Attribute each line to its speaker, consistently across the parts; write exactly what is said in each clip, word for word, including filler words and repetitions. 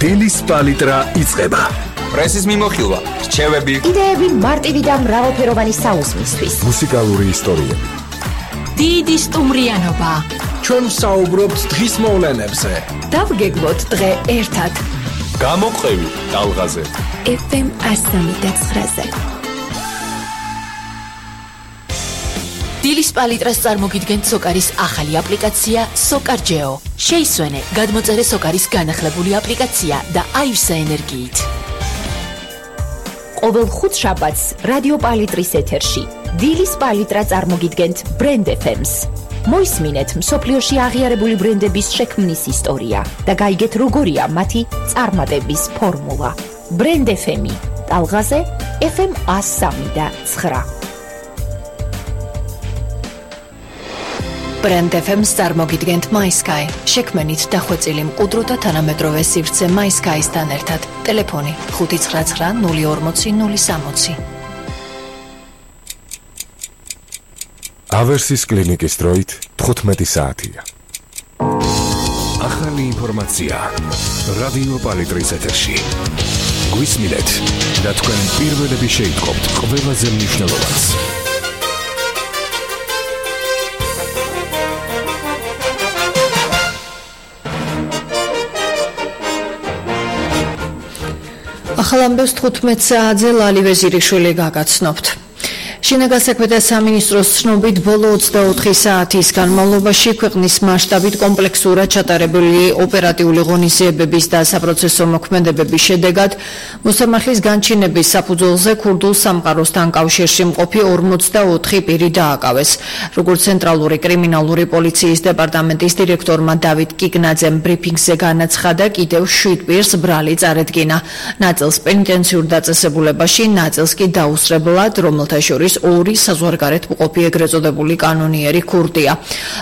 Speaker 1: დილის პალიტრა იწყება.
Speaker 2: პრესის მიმოხილვა, რჩევები,
Speaker 3: იდეები მარტივი და მრავალფეროვანი საუზმისთვის.
Speaker 1: მუსიკალური ისტორიები.
Speaker 4: დიდი სტუმრიანობა.
Speaker 1: ჩვენ ვსაუბრობთ დღის მოვლენებზე.
Speaker 3: დავგეგმოთ დღე ერთად.
Speaker 2: გამოყევი ტალღაზე.
Speaker 3: ეფ ემ ასამი და ცხრაზე.
Speaker 4: დილის პალიტრას წარმოგიდგენთ სოკარის ახალი აპლიკაცია სოკარჯეო. შეისვენე, გადმოწერე სოკარის განახლებული აპლიკაცია და აივსა ენერგიით.
Speaker 3: ყოველ ხუთშაბათს რადიო პალიტრის ეთერში დილის პალიტრა წარმოგიდგენთ ბრენდ ეფ ემს. მოისმინეთ მსოფლიოში აღიარებული ბრენდების შექმნის ისტორია და გაიგეთ როგორია მათი წარმატების ფორმულა. ბრენდ ეფ ემი ტალღაზე ეფ ემ ასამი და ცხრა.
Speaker 4: ბრენდ ეფ ემს წარმოგიდგენთ MySky. შექმენით დახვეწილი მყუდრო და თანამედროვე სივრცე MySky-სთან ერთად. ტელეფონი ხუთი ცხრა ცხრა ნული ორმოცი ნული სამოცი.
Speaker 1: ავერსის კლინიკის დროით თხუთმეტი საათია. ახალი ინფორმაცია რადიო პალიტრის ეთერში. გვისმინეთ და თქვენ პირველები შეიტყობთ ყველაზე მნიშვნელოვანს.
Speaker 5: ახალ ამბებს თხუთმეტ საათზე ლალი ვეზირიშვილი გაგაცნობთ. შინაგან საქმეთა სამინისტროს ცნობით ბოლო ოცდაოთხი საათის განმავლობაში ქვეყნის მასშტაბით კომპლექსურად ჩატარებული ოპერატიული ღონისძიებების და საპროცესო მოქმედებების შედეგად მოსამართლის განჩინების საფუძველზე ქურდულ სამყაროსთან კავშირში მყოფი ორმოცდაოთხი პირი დააკავეს. როგორც ცენტრალური კრიმინალური პოლიციის დეპარტამენტის დირექტორმა დავით კიკნაძემ ბრიფინგზე განაცხადა, კიდევ შვიდ პირს ბრალი წარედგინა. ნაწილს პენიტენციურ დაწესებულებაში, ნაწილს კი დაუსწრებლად, რომელთა შორის ორი საზღვარგარეთ მყოფი ეგრეთ წოდებული კანონიერი ქურდია.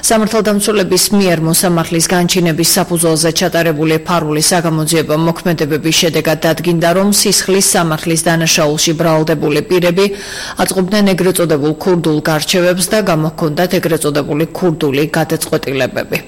Speaker 5: სამართალდამცველების მიერ მოსამართლის განჩინების საფუძველზე ჩატარებული ფარული საგამოძიებო მოქმედებების შედეგად დადგინდა, რომ სისხლის სამართლის დანაშაულში ბრალდებული პირები აწყობდნენ ეგრეთ წოდებულ ქურდულ გარჩევებს და გამოჰქონდათ ეგრეთ წოდებული ქურდული გადაწყვეტილებები.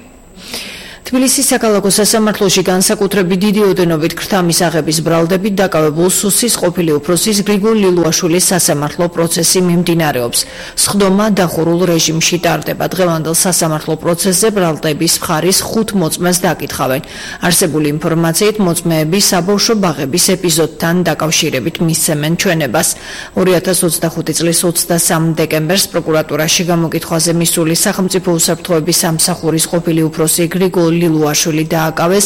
Speaker 5: თბილისის საქალაქო სასამართლოში განსაკუთრებით დიდი ოდენობით ქრთამისაღების ბრალდებით დაკავებულ სუსის ყოფილი უფროსის გრიგოლ ლილუაშვილის სასამართლო პროცესი მიმდინარეობს. სხდომა დახურულ რეჟიმში ტარდება. დღევანდელ სასამართლო პროცესზე ბრალდების მხარის ხუთ მოწმეს დაკითხავენ. არსებული ინფორმაციით მოწმეები საბავშვო ბაღების ეპიზოდთან დაკავშირებით მისცემენ ჩვენებას. ორი ათას ოცდახუთი წლის ოცდასამ დეკემბერს პროკურატურაში გამოკითხვაზე მისული სახელმწიფო უსაფრთხოების სამსახურის ყოფილი უფროსი გრიგოლ ლილუაშვილი დააკავეს,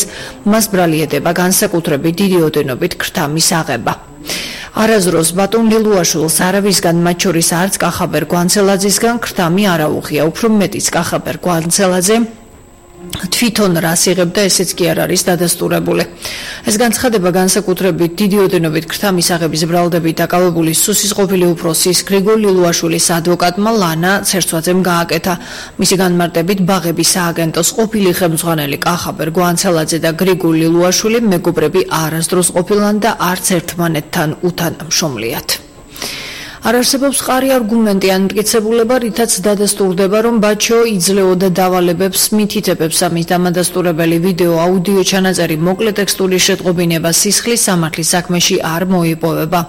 Speaker 5: მას ბრალი ედება განსაკუთრებით დიდი ოდენობით ქრთამის აღება. არაზროს ბატონ ლილუაშვილს არავისგან, მათ შორის არც კახაბერ გვანცელაძისგან ქრთამი არ აუღია, უფრო მეტიც კახაბერ გვანცელაძე თვითონ რას იღებდა, ესეც კი არ არის დადასტურებული. ეს განცხადება განსაკუთრებით დიდი ოდენობით ქრთამის აღების ბრალდებით დაკავებული სუსის ყოფილი უფროსის გრიგოლ ლილუაშვილის ადვოკატმა ლანა ცერცვაძემ გააკეთა. მისი განმარტებით ბაღების სააგენტოს ყოფილი ხელმძღვანელი კახაბერ გვანცელაძე და გრიგოლ ლილუაშვილი მეგობრები არასდროს ყოფილან და არც ერთმანეთთან უთანამშრომლიათ. არ არსებობს მყარი არგუმენტი ან მტკიცებულება, რითაც დადასტურდება, რომ ბაჩო იძლეოდა დავალებებს, მითითებებს ამის დამადასტურებელი ვიდეო აუდიო ჩანაწერი მოკლე ტექსტური შეტყობინება სისხლის სამართლის საქმეში არ მოიპოვება.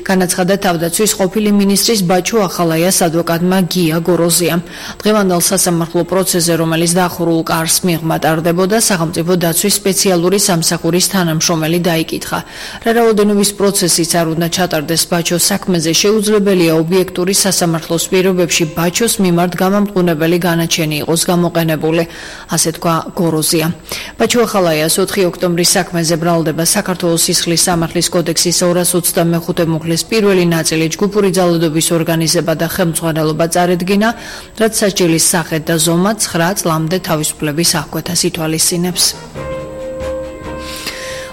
Speaker 5: განაცხადა თავდაცვის ყოფილი მინისტრის ბაჩო ახალაიას ადვოკატმა გია გოროზიამ. დღევანდელ სასამართლო პროცესზე, რომელიც დახურულ კარს მიღმა ტარდებოდა, სახელმწიფო დაცვის სპეციალური სამსახურის თანამშრომელი დაიკითხა. რა რაოდენობის პროცესიც არ უნდა ჩატარდეს ბაჩოს საქმეზე, შეუძლია ობიექტური სასამართლოს პირობებში ბაჩოს მიმართ გამამტყუნებელი განაჩენი იყოს გამოყენებული, ასე თქვა გოროზია. ბაჩო ახალაიას ოთხი ოქტომბრის საქმეზე ბრალდება საქართველოს სისხლის სამართლის კოდექსის ორას ოცდამეხუთე მუხლის პირველი ნაწილი ჯგუფური ძალადობის ორგანიზება და ხელმძღვანელობა წარედგინა, რაც სასჯელის სახე და ზომა ცხრა წლამდე თავისუფლების აღკვეთას ითვალისწინებს.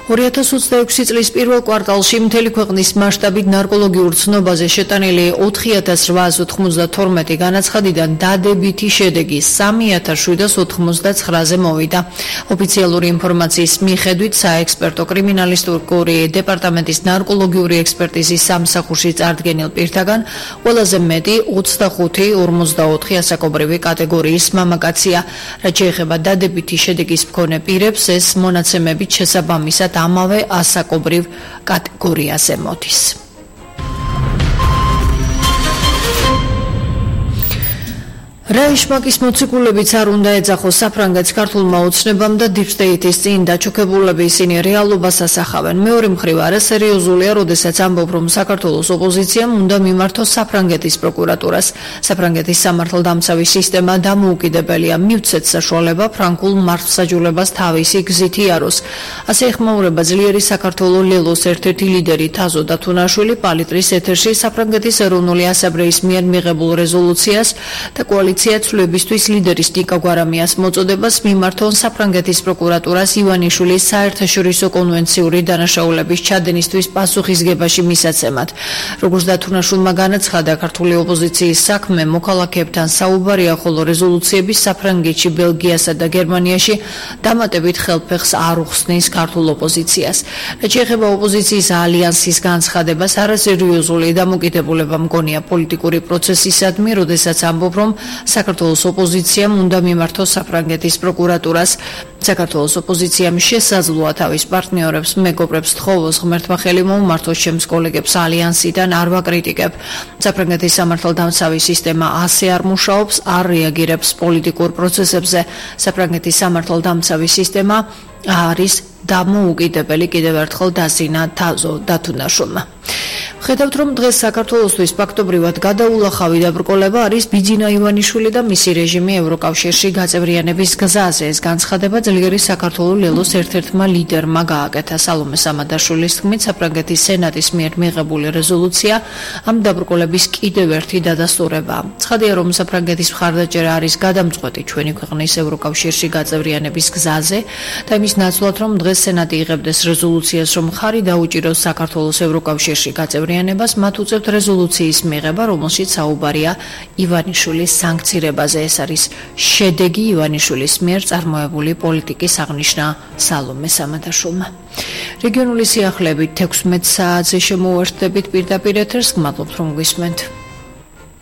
Speaker 5: ორი ათას ოცდაექვსი წლის პირველ კვარტალში მთელი ქვეყნის მასშტაბით ნარკოლოგიურ ცნობაზე შეტანილი ოთხი ათას რვაას ოთხმოცდათორმეტი განაცხადიდან დადებითი შედეგი სამი ათას შვიდას ოთხმოცდაცხრაზე მოვიდა. ოფიციალური ინფორმაციის მიხედვით საექსპერტო კრიმინალისტური დეპარტამენტის ნარკოლოგიური ექსპერტიზის სამსახურში წარდგენილ პირთაგან ყველაზე მეტი ოცდახუთი ორმოცდაოთხი ასაკობრივი კატეგორიის მამაკაცია. რაც შეეხება დადებითი შედეგის მქონე პირებს, ეს მონაცემებით შესაბამისად ამავე ასაკობრივ კატეგორიაზე მოდის. რაიშმაკის მოციქულებიც არ უნდა ეძახოს საფრანგეთს ქართულმა ოცნებამ და Deep State-ის წინ დაჩოქებულები ისინი რეალობას ასახავენ. მეორე მხრივ არასერიოზულია, როდესაც ამბობ, რომ საქართველოს ოპოზიციამ უნდა მიმართოს საფრანგეთის პროკურატურას. საფრანგეთის სამართალდამცავი სისტემა დამოუკიდებელია, მივცეთ საშუალება ფრანგულ მართლმსაჯულებას თავისი გზით იაროს. ასე ეხმაურება ძლიერი საქართველოს ლელოს ერთ-ერთი ლიდერი თაზო დათუნაშვილი პალიტრის ეთერში საფრანგეთის ეროვნული ასამბლეის მიერ მიღებულ რეზოლუციას და კოალიციას ცვლილებისთვის ლიდერის ნიკა გვარამიას მოწოდებას მიმართონ საფრანგეთის პროკურატურას ივანიშვილის საერთაშორისო კონვენციური დანაშაულების ჩადენისთვის პასუხისგებაში მისაცემად. როგორც დათუნაშვილმა განაცხადა, ქართული ოპოზიციის საქმე მოქალაქეებთან საუბარია, ხოლო რეზოლუციების საფრანგეთში, ბელგიასა და გერმანიაში დამატებით ხელფეხს არ უხსნის ქართულ ოპოზიციას. რაც შეეხება ოპოზიციის ალიანსის განცხადებას, არასერიოზული დამოკიდებულება მგონია პოლიტიკური პროცესისადმი, როდესაც ამბობ, რომ საქართველოს ოპოზიციამ უნდა მიმართოს საფრანგეთის პროკურატურას. საქართველოს ოპოზიციამ შესაძლოა თავის პარტნიორებს, მეგობრებს თხოვოს ღმერთმა ხელი მოუმართოს ჩემს კოლეგებს ალიანსიდან არ ვაკრიტიკებ. საფრანგეთის სამართალდამცავი სისტემა ასე არ მუშაობს, არ რეაგირებს პოლიტიკურ პროცესებზე. საფრანგეთის სამართალდამცავი სისტემა არის დამოუკიდებელი, კიდევ ერთხელ დაზინა თაზო დათუნაშვილმა. ხედავთ, რომ დღეს საქართველოსთვის ფაქტობრივად გადაულახავი დაბრკოლება არის ბიძინა ივანიშვილი და მისი რეჟიმი ევროკავშირში გაწევრიანების გზაზე. ეს განცხადება ძლიერი საქართველოს ლელოს ერთ-ერთმა ლიდერმა გააკეთა. სალომე სამადაშვილის თქმით, საფრანგეთის სენატის მიერ მიღებული რეზოლუცია ამ დაბრკოლების კიდევ ერთი დადასტურებაა. ცხადია, რომ საფრანგეთის მხარდაჭერა არის გადამწყვეტი ჩვენი ქვეყნის ევროკავშირში გაწევრიანების გზაზე და იმის ნაცვლად, რომ დღეს სენატი იღებდეს რეზოლუციას, რომ ხარი დაუჭიროს საქართველოს ევროკავშირში გაწევრიანებას, მათ უწევთ რეზოლუციის მიღება, რომელშიც საუბარია ივანიშვილის სანქცირებაზე. ეს არის შედეგი ივანიშვილის მიერ წარმოებული პოლიტიკის აღნიშნა სალომე სამადაშვილმა. რეგიონული სიახლეებით თექვსმეტ საათზე შემოვერთდებით პირდაპირ ეთერს, გმადლობთ რომ გვისმენთ.